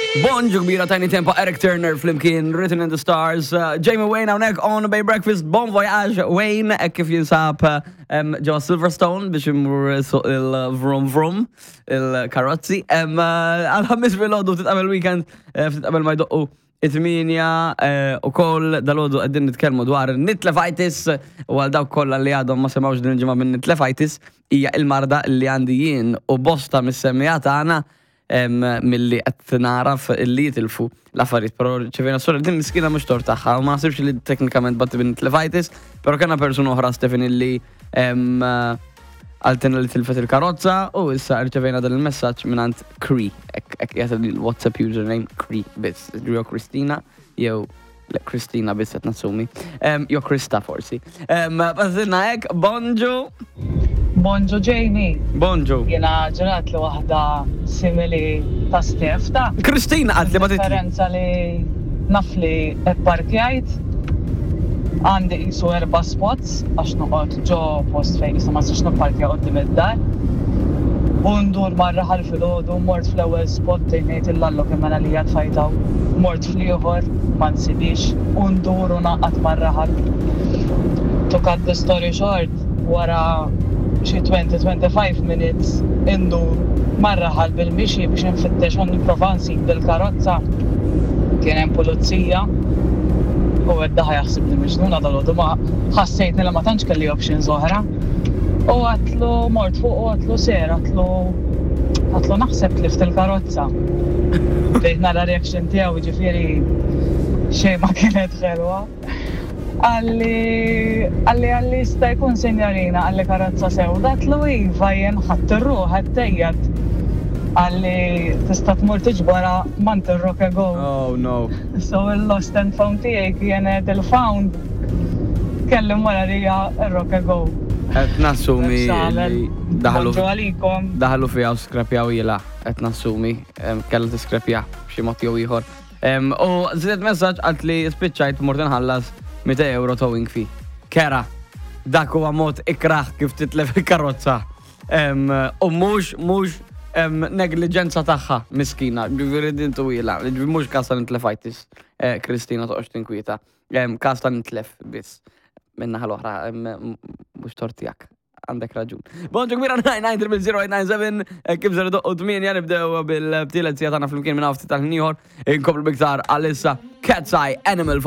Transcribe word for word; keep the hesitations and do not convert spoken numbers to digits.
Bonġu kbira, Tinie Tempah, Eric Turner flimkien, Written in the Stars, uh, Jamie Wayne hawnhekk on Bay Breakfast. Bon voyage, Wayne, hekk kif jinsab um, ġewwa Silverstone biex imur suq il-vrum vrum, il-karozzi. Um, uh, Għal-Ħamis filgħodu, ftit qabel weekend, uh, ftit qabel ma jdoqqu it-tmienja u koll dalgħodu, qegħdin nitkellmu dwar nitlefitis, u għal dawk kollha li għadhom ma semgħux din il-ġimgħa minn nitlefitis, hija il-marda li għandi jien u bosta mis-semmiegħa tagħna em, milli qed naraf illi jitilfu l-affarijiet, però ċevena sora din miskina mhux tort tagħha u ma naħsibx li teknikament batti bin nitlefitis, però kellna persuna oħra, Stefan, illi em, qaltilna li tilfet il-karozza u issa rċevejna dan il-messaġġ mingħand Cree, hekk jgħid il-WhatsApp username Cree biss, jew Kristina jew le, Kristina biss qed nassumi. Em, Jew Krista forsi. Bażilna hekk, bonġu. Bonġu, Jamie. Bonġu. Jena ġrat li waħda simili ta' Stef ta' Kristina għad li ma titli. Differenza li naf li parkjajt għandi qisu erba' spots għax noqgħod ġo post fejn issa ma nistax nipparkja quddiem id-dar. U ndur mar-raħal filgħodu, mort fl-ewwel spot, tgħid illallu kemm mela li tfajtaw. Mort fl-ieħor, ma nsibix, u ndur u naqgħad mar-raħal. To cut the story short, wara xi twenty twenty-five minutes indur mar-raħal bil-mixi biex nfittex u nipprova nsib bil-karozza. Kien hemm pulizija u għedda ħa jaħseb li miġnuna dalgħodu, ma ħassejtni li ma tantx kelli options oħra. U għedtlu, mort fuq u għedtlu, "Sir," għedtlu, għedtlu "naħseb tlift il-karozza." Bdejt nara reaction tiegħu, ġifieri xejn ma kienet ħelwa. Qalli, qalli, qalli "Jista' jkun, sinjorina," qalli, "karozza sewda?" Għedtlu, "Iva, jien ħadd ir-ruħ għettejjat." Qalli, "Tista' tmur tiġbora mant ir-Rock Go." Oh no. So il-lost and found tiegħi kienet il-found kellim wara rija ir-Rock Go. Qed nassumi li daħlu Bonġu għalikom. Daħlu fiha u skrepjaw jila, qed nassumi, em, kellha tiskrepja b'xi mod jew ieħor. Em, U żidet messaġġ, għalt li spiċċajt mort inħallas mitejn euro towing fee. Kera, dak huwa mod ikraħ kif titlef il-karozza. Em, U mhux mhux em, negliġenza tagħha, miskina, ġifieri din twila, ġifieri mhux każ ta' nitlefajtis, eh, Kristina, toqgħodx tinkwieta. Em, Każ ta' nitlef biss. Minna l-oħra, em, mhux tort tiegħek. Għandek raġun. Bonġu kbira, nine nine zero zero eight nine seven, kif ser doqqu tmienja nibdew bil-tielet siegħa tagħna flimkien minn ftit tal-ieħor, inkomplu biktar għalissa Cat's Eye, Animal.